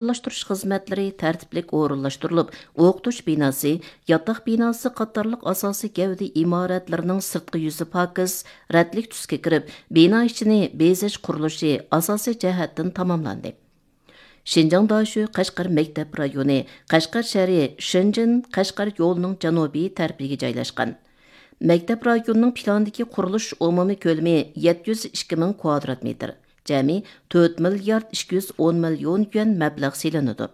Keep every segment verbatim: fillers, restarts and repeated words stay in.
ئايدىڭلاشتۇرۇش خىزمەتلىرى تەرتىپلىك ئورۇنلاشتۇرۇلۇپ، ئوقۇتۇش بىناسى، ياتاق بىناسى قاتارلىق ئاساسىي گەۋدە ئىمارەتلىرىنىڭ سىرتقى يۈزى پاكىز، رەتلىك تۈسكە كىرىپ، بىنا ئىچىنى بېزەش قۇرۇلۇشى ئاساسىي جەھەتتىن تاماملاندى. شىنجاڭ داشۆ قەشقەر مەكتەپ رايونى، قەشقەر شەھىرى شېنجېن قەشقەر يولىنىڭ جەنۇبىي تەرىپىگە جايلاشقان. مەكتەپ رايونىنىڭ پىلاندىكى قۇرۇلۇش ئومۇمىي كۆلىمى يەتتە يۈز ئىككى مىڭ كۋادرات مېتىر، جەمئىي تۆت مىليارد ئىككى يۈز ئون مىليون يۈەن مەبلەغ سېلىنىدۇ.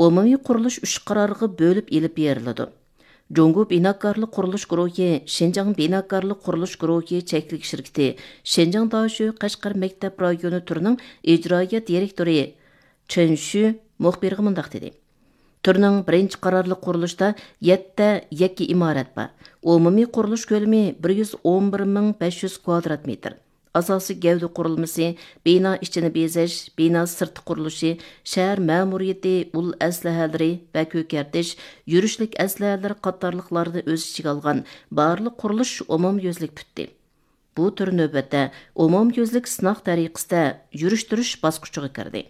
ئومۇمىي قۇرۇلۇش ئۈچ قارارغا بۆلۈپ ئېلىپ بېرىلىدۇ. جۇڭگو بىناكارلىق قۇرۇلۇش گۇرۇھى، شىنجاڭ بىناكارلىق قۇرۇلۇش گۇرۇھى چەكلىك شىركىتى، شىنجاڭ داشۆ قەشقەر مەكتەپ رايونى تۈرىنىڭ ئىجرائىيە دىرېكتورى چېن شۈ مۇخبىرغا مۇنداق دېدى: تۈرنىڭ بىرىنچى قارارلىق قۇرۇلۇشىدا يەتتە يەككە ئىمارەت بار. ئومۇمىي قۇرۇلۇش كۆلىمى بىر يۈز ئون بىر مىڭ بەش يۈز كۋادرات مېتىر. ئاساسىي گەۋدە قۇرۇلمىسى، بىنا ئىچىنى بېزەش، بىنا سىرتى قۇرۇلۇشى، شەھەر مەمۇرىيىتى، ئۇل ئەسلىھەلىرى ۋە كۆكەرتىش، يۈرۈشلۈك ئەسلىھەلىرى قاتارلىقلارنى ئۆز ئىچىگە ئالغان بارلىق قۇرۇلۇش ئومۇميۈزلۈك پۈتتى. بۇ تۈر نۆۋەتتە ئومۇميۈزلۈك سىناق تەرىقىسىدە يۈرۈشتۈرۈش باسقۇچىغا كىردى.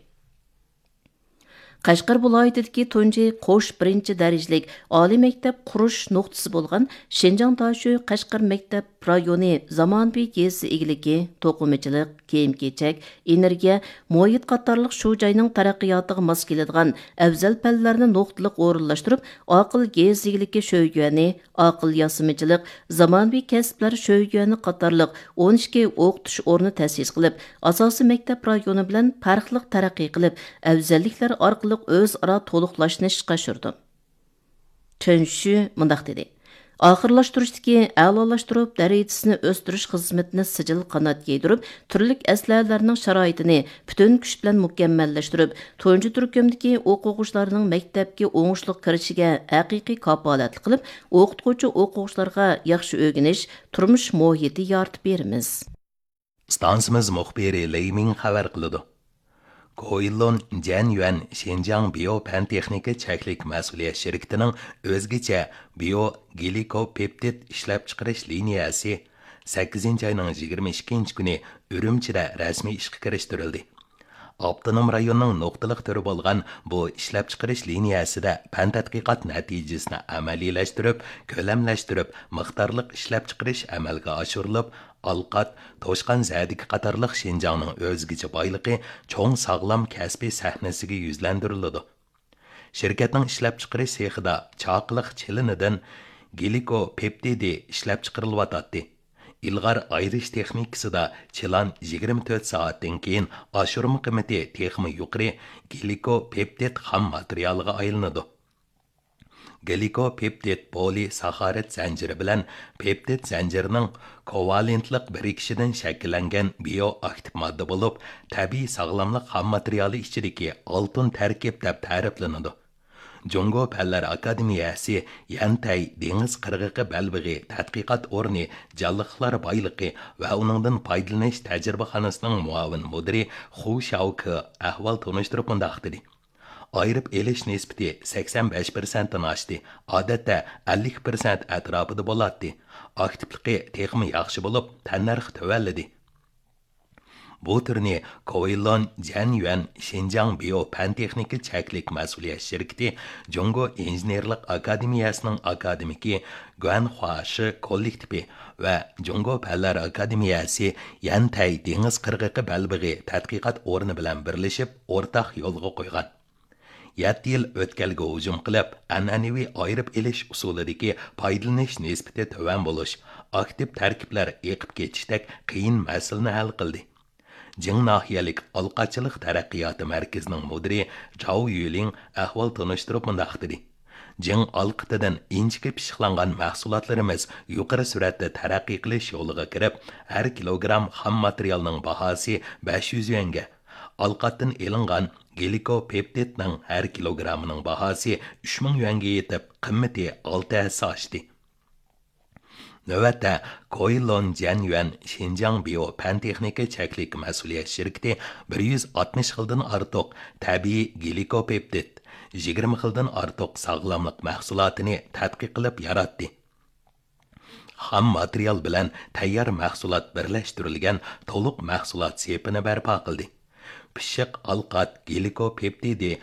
قەشقەر ۋىلايىتىدىكى تۇنجى قوش بىرىنچى دەرىجىلىك ئالىي مەكتەپ قۇرۇش نۇقتىسى بولغان شىنجاڭ داشۆ قەشقەر مەكتەپ رايونى زامانىۋى يېزا ئىگىلىكى، توقۇمىچىلىق، كىيىم-كېچەك، ئېنېرگىيە، مۇھىت قاتارلىق شۇ جاينىڭ تەرەققىياتىغا ماس كېلىدىغان ئەۋزەل پەنلەرنى نۇقتىلىق ئورۇنلاشتۇرۇپ، ئاقىل يېزا ئىگىلىكى شۆيۈەنى، ئاقىل ياسىمىچىلىق، زامانىۋى كەسىپلەر شۆيۈەنى قاتارلىق ئون ئىككى ئوقۇتۇش ئورنى تەسىس قىلىپ، ئاساسىي مەكتەپ رايونى بىلەن پەرقلىق تەرەققىي قىلىپ، ئەۋزەللىكلەر ئارقىلىق ئۆزئارا تولۇقلاشنى ئىشقا ئاشۇرىدۇ. چېن شۈ مۇنداق دېدى: ئاخىرلاشتۇرۇشتىكى ئەلالاشتۇرۇپ دەرىجىسىنى ئۆستۈرۈش خىزمىتىنى سىجىل قانات يايدۇرۇپ، تۈرلۈك ئەسلىھەلەرنىڭ شارائىتىنى پۈتۈن كۈچ بىلەن مۇكەممەللەشتۈرۈپ، تۇنجى تۈركۈمدىكى ئوقۇغۇچىلارنىڭ مەكتەپكە ئوڭۇشلۇق كىرىشىگە ھەقىقىي كاپالەتلىك قىلىپ، ئوقۇتقۇچى ئوقۇغۇچىلارغا ياخشى ئۆگىنىش، تۇرمۇش مۇھىتى يارىتىپ بېرىمىز. ئىستانسىمىز مۇخبىرى لېي مىڭ خەۋەر قىلىدۇ. كوئىلون جەن يۈەن شىنجاڭ بىيو پەن تېخنىكا چەكلىك مەسئۇلىيەت شىركىتىنىڭ ئۆزگىچە بىيو گلىكوپېپتىد ئىشلەپچىقىرىش لىنىيەسى سەككىزىنچى ئاينىڭ يىگىرمە ئىككىنچى كۈنى ئۈرۈمچىدە رەسمىي ئىشقا كىرىشتۈرۈلدى. ئاپتونوم رايوننىڭ نۇقتىلىق تۈرى بولغان بۇ ئىشلەپچىقىرىش لىنىيەسىدە پەن تەتقىقات نەتىجىسىنى ئەمەلىيلەشتۈرۈپ، كۆلەملەشتۈرۈپ، مىقدارلىق ئىشلەپچىقىرىش ئەمەلگە ئاشۇرۇلۇپ، ئالقات، توشقان زەدىكى قاتارلىق شىنجاڭنىڭ ئۆزگىچە بايلىقى چوڭ ساغلام كەسپىي سەھنىسىگە يۈزلەندۈرۈلىدۇ. شىركەتنىڭ ئىشلەپچىقىرىش سېخىدا چاقىلىق چىلىنىدىن گلىكوپېپتىدى ئىشلەپچىقىرىلىۋاتاتتى. ئىلغار ئايرىش تېخنىكىسىدا چىلان يىگىرمە تۆت سائەتتىن كېيىن ئاشۇرما قىممىتى تېخىمۇ يۇقىرى گلىكوپېپتىد خام ماتېرىيالىغا ئايلىنىدۇ. گلىكوپېپتىد پولىساخارىد زەنجىرى بىلەن پېپتىد زەنجىرىنىڭ كوۋالېنتلىق بىرىكىشىدىن شەكىللەنگەن بىيو ئاكتىپ ماددا بولۇپ، تەبىئىي ساغلاملىق خام ماتېرىيالى ئىچىدىكى ئالتۇن تەركىب دەپ تەرىپلىنىدۇ. جۇڭگو پەنلەر ئاكادېمىيەسى يەنتەي دېڭىز قىرغىقى بەلبېغى تەتقىقات ئورنى جانلىقلار بايلىقى ۋە ئۇنىڭدىن پايدىلىنىش تەجرىبىخانىسىنىڭ مۇئاۋىن مۇدىرى خۇ شياۋكې ئەھۋال تونۇشتۇرۇپ مۇنداق دېدى: ئايرىپ ئېلىش نىسبىتى سەكسەن بەش پىرسەنتتىن ئاشتى، ئادەتتە ئەللىك پىرسەنت ئەتراپىدا بولاتتى. ئاكتىپلىقى تېخىمۇ ياخشى بولۇپ، تەننەرخ تۆۋەنلىدى. بۇ تۈرنى كوئىلون جەن يۈەن شىنجاڭ بىيو پەن تېخنىكا چەكلىك مەسئۇلىيەت شىركىتى جۇڭگو ئىنژېنېرلىق ئاكادېمىيەسىنىڭ ئاكادېمىكى گۇەن خۇا شى كوللېكتىپى ۋە جۇڭگو پەنلەر ئاكادېمىيەسى يەنتەي دېڭىز قىرغىقى بەلبېغى تەتقىقات ئورنى بىلەن بىرلىشىپ ئورتاق يولغا قويغان. يەتتە يىل ئۆتكەلگە ھۇجۇم قىلىپ، ئەنئەنىۋى ئايرىپ ئېلىش ئۇسۇلىدىكى پايدىلىنىش نىسبىتى تۆۋەن بولۇش، ئاكتىپ تەركىبلەر ئېقىپ كېتىشتەك قىيىن مەسىلىنى ھەل قىلدى. جىڭ ناھىيەلىك ئالقاچىلىق تەرەققىياتى مەركىزىنىڭ مۇدىرى جاۋ يۈلىڭ ئەھۋال تونۇشتۇرۇپ مۇنداق دېدى: جىڭ ئالقىتىدىن ئىنچىكە پىششىقلانغان مەھسۇلاتلىرىمىز يۇقىرى سۈرئەتتە تەرەققىي قىلىش يولىغا كىرىپ، ھەر كىلوگرام خام ماتېرىيالنىڭ باھاسى بەش يۈز يۈەنگە، ئالقاتتىن ئېلىنغان گلىكوپېپتىدنىڭ ھەر كىلوگرامىنىڭ باھاسى ئۈچ مىڭ يۈەنگە يېتىپ، قىممىتى ئالتە ھەسسە ئاشتى. نۆۋەتتە، كوئىلون جەن يۈەن شىنجاڭ بىيو پەن تېخنىكا چەكلىك مەسئۇلىيەت شىركىتى بىر يۈز ئاتمىش خىلدىن ئارتۇق تەبىئىي گلىكوپېپتىد، يىگىرمە خىلدىن ئارتۇق ساغلاملىق مەھسۇلاتىنى تەتقىق قىلىپ ياراتتى. خام ماتېرىيال بىلەن تەييار مەھسۇلات بىرلەشتۈرۈلگەن تولۇق مەھسۇلات سېپىنى بەرپا قىلدى. پىششىق ئالقات، گلىكوپېپتىدى،